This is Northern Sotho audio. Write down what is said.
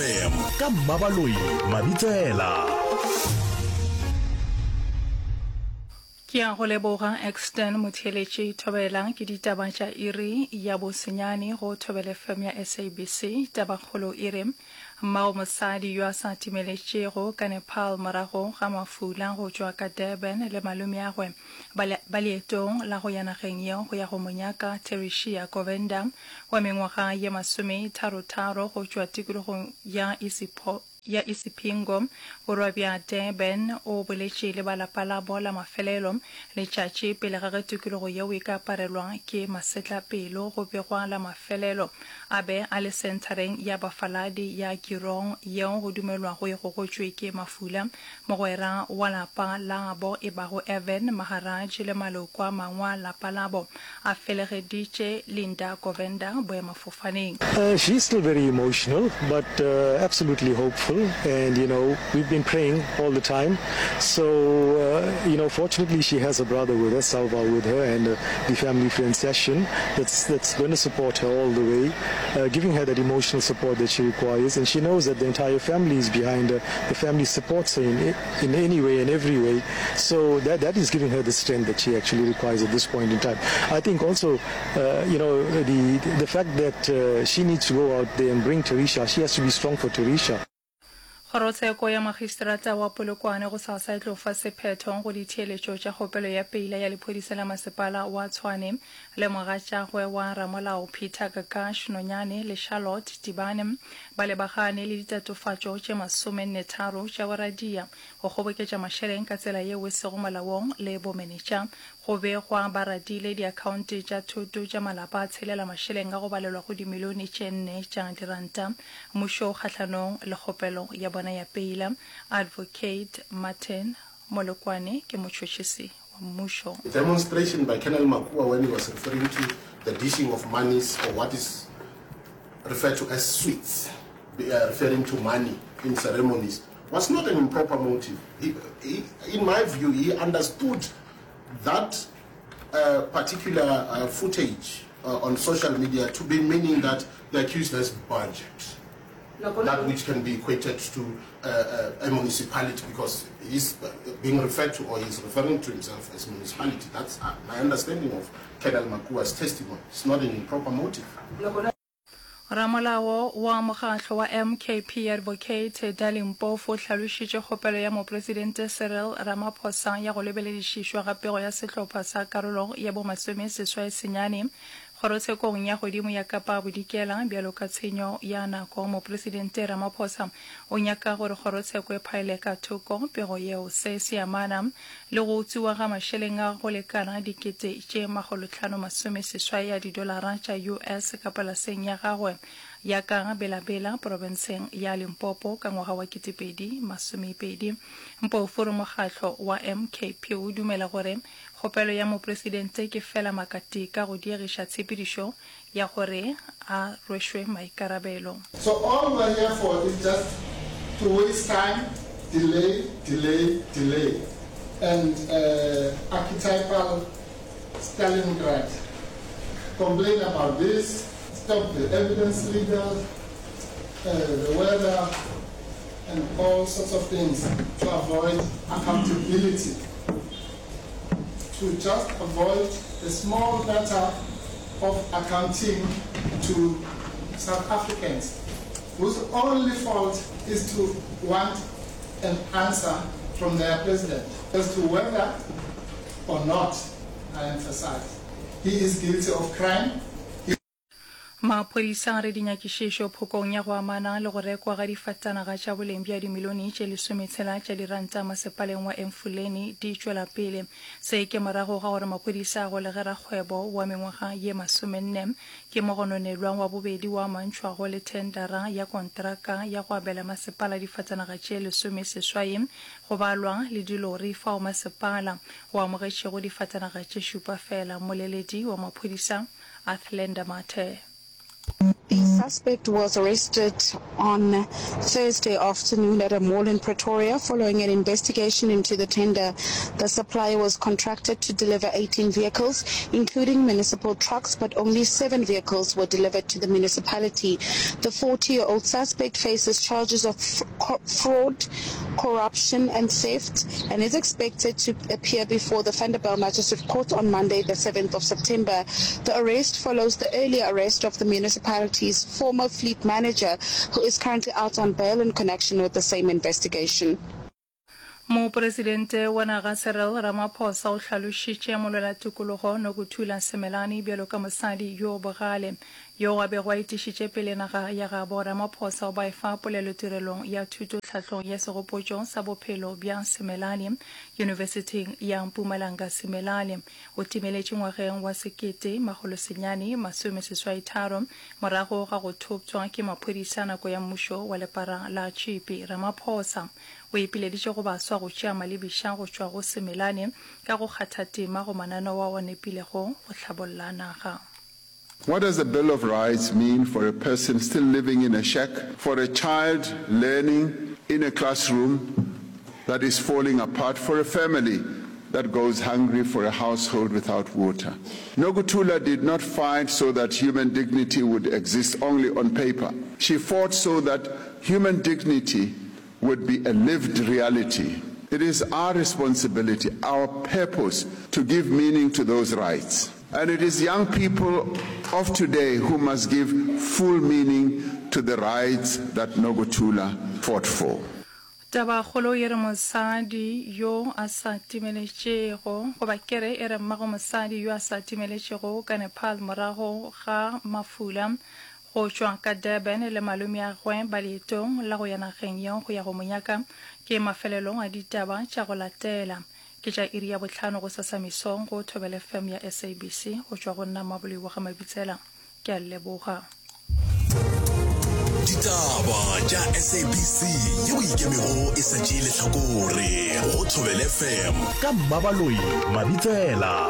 FM ka Mmabaloi Mabitsela. Ke a go leboga Exton Motheeletši Thobela ke ditaba tša iri ya bosenyane go Thobela FM ya SABC. Tabakgolo e re mmago mosadi yo a sa timeletšego ka Nepal morago ga mafula go tšwa ka Durban le malomeagwe ba, ba leetong la go ya nageng yeo go ya go mo nyaka Tereshia Govender wa mengwaga ye masometharotharo go tšwa tikologong ya Isipho, ya Isipingo, borwa bja Durban, o boletše le ba lapa labo la mafelelo letšatši pele ga ge tikologo yeo e ka aparelwa ke masetlapelo. Go begwa la mafelelo a be a le senthareng ya bafaladi ya Girong yeo go dumelwago e gogotšwe ke mafula. Mogwera wa lapa labo e bago Evan Maharaj le maloko a mangwe a lapa labo a felegeditše Linda Govender boemafofaneng. She's still very emotional but absolutely hopeful and you know we've been praying all the time so you know fortunately she has her brother with her, Salva with her and the family friend Session that's that's gonna support her all the way giving her that emotional support that she requires and she knows that the entire family is behind her, the family supports her in in any way and every way so that that is giving her the strength that she actually requires at this point in time. I think also uh, you know the the fact that uh, she needs to go out there and bring Terisha, she has to be strong for Terisha. Kgorotsheko ya Magistrata wa Polokwane gosasa e tlo fa sephetho go ditheeletšo tša kgopelo ya peila ya lephodisa la masepala wa Tshwane le mogatšagwe wa ramolao Peter Kakash Nonyane le Charlotte Tibane ba lebagane le ditatofatšo tše masomennetharo tša boradia, go kgoboketša mašeleng ka tsela yeo e sego molaong le bomenetša. Go begwa ba radile diakhaonte tša thoto tša malapa a tshelela mašeleng a go balelwa go dimilione tše nne tša diranta. Mmušo o kgahlanong le kgopelo ya bona ya peila. Advocate Martin Molokwane ke motšhotšhisi wa mmušo. The demonstration by Colonel Makua when he was referring to the dishing of monies or what is referred to as sweets, referring to money in ceremonies, was not an improper motive. He, he, in my view, he understood that uh, particular uh, footage uh, on social media to be meaning that the accused has budget. That which can be equated to uh, uh, a municipality because he's being referred to or he's referring to himself as municipality. That's uh, my understanding of Colonel Makua's testimony. It's not an improper motive. Ramolao wa mokgatlo wa MKP Advocate Dali Mpofu o hlalošitše kgopelo ya Mopresidente Cyril Ramaphosa ya go lebeledišišwa ga pego ya sehlopha sa karolo ya bo 69 Kgorotshekong ya Godimo ya Kapa Bodikela bjalo ka tshenyo ya nako. Mopresidente Ramaphosa o nyaka gore kgorotsheko e phaele ka thoko pego yeo. Se se amana le go utswiwa ga mašeleng a go lekana dikete tše makgolotlhano masomeseswai a didolara tša US ka polaseng ya gagwe ya ka Bela-Bela porofenseng ya Limpopo ka ngwaga wa 2020. Mpofu o re mokgatlo wa MKP o dumela gore Kgopelo ya Mopresidente ke feela makatika go diegiša tshepedišo ya gore a rwešwe maikarabelo. So all we're here for is just to waste time, delay, delay, delay and archetypal Stalingrad, complain about this, stop the evidence legal, the weather and all sorts of things to avoid accountability. To just avoid the small matter of accounting to South Africans whose only fault is to want an answer from their president as to whether or not, I emphasize, he is guilty of crime. He Maphodisa a re dinyakišišo phokong ya go amana le go rekwa ga difatanaga tša boleng bja dimilione tše lesometshela tša diranta masepaleng wa Emfuleni di tšwela pele. Se ke morago ga gore maphodisa a golege rakgwebo wa mengwaga ye masomenne ke mogononelwa wa bobedi wa amantšhwago le thendara ya kontraka ya go abela masepala difatanaga tše lesomeseswai go balwa le dilori fao masepala o amogetšego difatanaga tše šupa fela. Mmoleledi wa maphodisa Athlenda Mathe. These. suspect was arrested on Thursday afternoon at a mall in Pretoria following an investigation into the tender. The supplier was contracted to deliver 18 vehicles, including municipal trucks, but only seven vehicles were delivered to the municipality. The 40-year-old suspect faces charges of fraud, corruption and theft and is expected to appear before the Vanderbijl Magistrate Court on Monday, the 7th of September. The arrest follows the earlier arrest of the municipality's former fleet manager, who is currently out on bail in connection with the same investigation. Mopresidente wa naga Cyril Ramaphosa o hlalošitše molwelatokologo Nokuthula Simelane bjalo ka mosadi yo bogale yoo a bego a etišitše pele naga ya gabo. Ramaphosa o ba efa polelo tirelong ya thuto tlhahlong ya segopotšo sa bophelo bja Simelane Yunibesithing ya Mpumalanga. Simelane o timeletše ngwageng wa 1983 morago ga go thoptšwa ke maphodisa nako ya mmušo wa lepara la tšhipi. Ramaphosa O ipileditše go baswa go tšea malebiša go tšwa go Simelane ka go kgatha tema go mananeo ao a nepilego go hlabolla naga. What does the Bill of Rights mean for a person still living in a shack, for a child learning in a classroom that is falling apart, for a family that goes hungry, for a household without water? Nokuthula did not fight so that human dignity would exist only on paper. She fought so that human dignity would be a lived reality. It is our responsibility, our purpose, to give meaning to those rights. And it is young people of today who must give full meaning to the rights that Nokuthula fought for. Tabakgolo e re mosadi yo a sa timeletšego, goba ke re e re mmago mosadi yo a sa timeletšego ka Nepal morago ga mafula Go tšwa ka Durban le malomeagwe ba leetong la go ya nageng yeo go ya go mo nyaka ke mafelelo a ditaba tša go latela. Ke tša iri ya bohlano gosasa mesong go Thobela FM ya SABC. Go tšwa go nna Mmaboloi wa ga Mabitsela, ke a le leboga. Ditaba tša SABC yeo e ikemego e sa tšee lehlakore go Thobela FM ka Mmabaloi Mabitsela.